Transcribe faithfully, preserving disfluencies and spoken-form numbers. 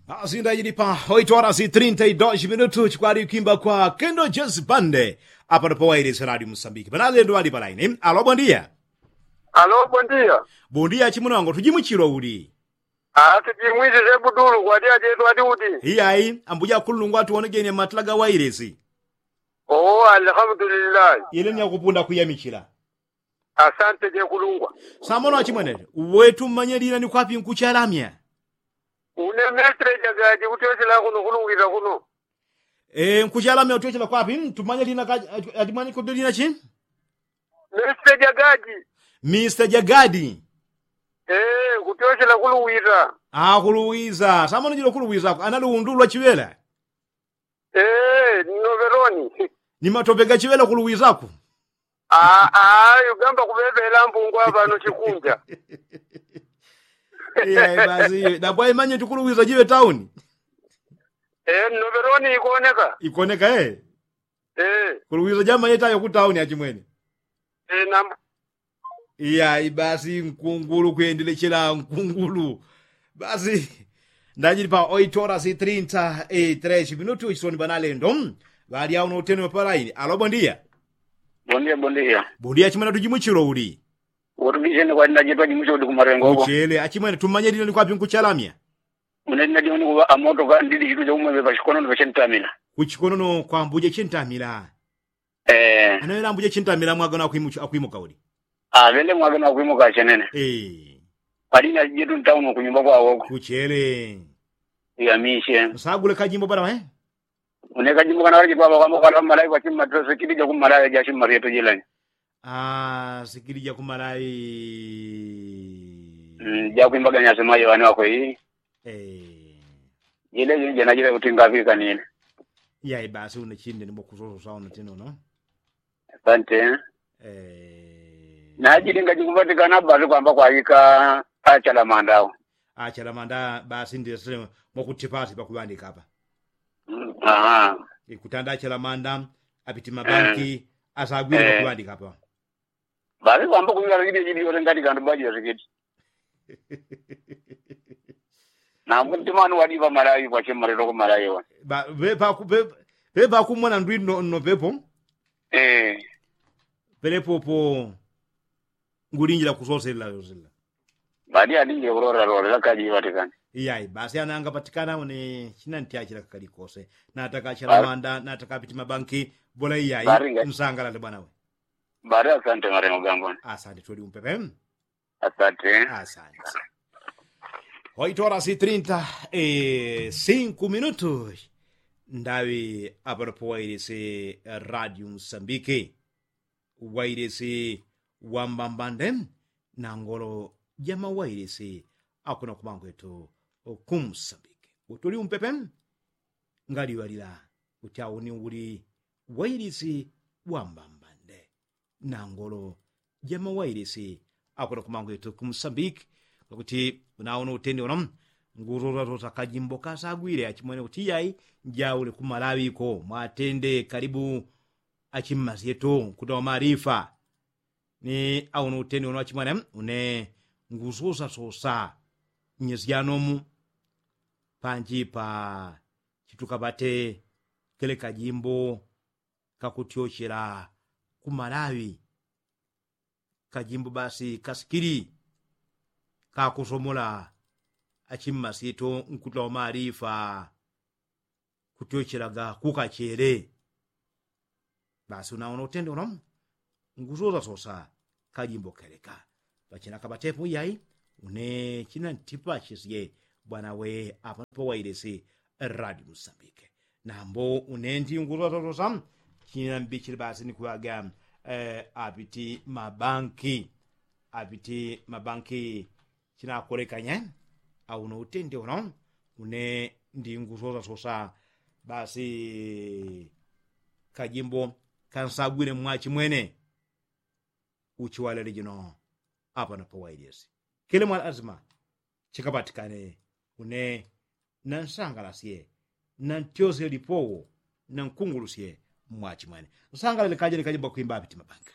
Asinda ili pa oito horas e trinta e dois minutos kwali kwimba kwa kendo jesi pande. Apano pawailesi radio musambiki panalendo ali palaini alo bondia. Alo bondia. Bondia chimuno wango tujimwichilo uli? Ati jimwisi sebudulu kwati achetu ati uti? Iyayi ambuja kululungwa atuwonejeni matila ga wailesi. Oo alhamdulillahi. Ile ni akupunda kuyamichila. Asante jekulungwa. Samono achimwene, uwetu mmanye lina ni kwapi nkuchalamya? Une mestre jagaji kutyochela kuno kulungwita kuno. Nkuchalamya kutyochela kwapi? Tumanye lina kaji achimwene kuti lina chi? Mestre jagaji. Mista jagadi. Kutyochela kulungwita. Akuluwiza samono jilo kuluwizako anali undulwa chiwela. Ee nnoveloni. Ni matope gachiŵela kuluwizaku. Aa ugamba kuŵeŵela mbungwa ŵano chikunja. Iya basi iyo dapwa imanye tikuluwiza jiŵe tauni. Ee nnoveloni ikoneka. Ikoneka ee. Ee kuluwiza jamanye tayo ku tauni achimwene. Ee nambu. Iyayi basi nkungulu kwendelechela nkungulu. Basi ndajili pa oito horas e trinta e tres minutu chisoni banalendo. Ŵali auno uteni wapalaini alo bondia. Bondia bondia. Bondia achimwene tujimuchilo uli? Wotubisene kwati ndajili pajimuchilo uli kumarengo kuchele achimwene tumanyelile ni kwapi nkuchalamya? Une ndinadimuni kuŵa amoto kandili chitu chaumweve pachikonono pachentamila. Kuchikonono kwambuje chentamila. Ee. Anoela ambuje chintamila mwagano akwimuka uli? Aŵele mwagano akwimuka achenene. Ee. Pali na jetu ntauno kunyumba kwawoko kuchele. Iyamishe nsagule kajimbo bala we. Une kajimbo kana kali chipapa kwamba kwala mmalawi kwachimma tosikilija kummalawi jachimma ryeto jilani. Aa sikilija kummalawi. Jakwimbaga nyasemayo wane wakwe ii. Jile jili jana jile kuti ngaŵikanile. Yai basi une chinde ni mwakusososa uno tino no. Asante. Najilinga jikupatikana basi kwamba kwaika achalamanda au. Achalamanda basi ndesile mwakutipasi pakuŵandika apa. Kutanda achalamanda apiti mabanki asagwile pakuŵandika apa. Basi kwamba kuŵiŵala jili jili yote ngati kandu baji yasikiti. Nambu ntimani wadiŵa malawi kwachemma lelo kumalawi wa. Pepa kumona ndwi nno pepo. Pelepopo ngulinjila kusoselela yosela. Badi alinjila kulolalolela kaji iŵatikana. Iyayi basi ana angapatikana une chinantyachila kakali kose. Nataka achalamanda nataka apiti mabanki. Bola iyayi. Nsangalale bwana we. Bari asante marengo gangoni. Asante tuli umpepe. Asante. Asante. Oito horas e trinta e cinco minutos. Ndaŵi apano pawailisi radio msambiki. Wailisi wambambande na ngolo jamawailisi akuna kumangwetu kumsambiki utuli umpepe. Ngaliŵalila kuti auni uli wailisi wambambande na ngolo jamawailisi akuna kumangwetu kumsambiki. Kakuti unaona utende uno ngusosasosa kajimbo kasagwile achimwene kuti iyai njaule kumalawi ko mwatende kalibu. Achimmasi yetu nkuta wamarifa ni auno uteni uno achimwana une ngusosasosa nnyesi yanomu. Panji pa chitukapate kele kajimbo kakutyochela kumalawi. Kajimbo basi kasikili kakusomola achimmasi yetu nkuta wamarifa. Kutyochelaga kukachele. Basi unaona utende uno ngusosasosa kajimbo keleka. Pachina kapatepo iyai une china ntipachisye bwana we apano pawailisi radio musambike. Nambo une ndi ngusosasosa china mbichile basi nikuŵaga apiti mabanki. Apiti mabanki chinakolekanye. Auno utende uno une ndi ngusosasosa basi kajimbo kansagwile mwachimwene. Uchiwalele jino apano pawailisi kile mwana azima chikapatikane. Une nansangalasye nantyosye lipowo nankungulusye mwachimwene. Nsangalale kajene kajimbo kakwimba apiti mabanki.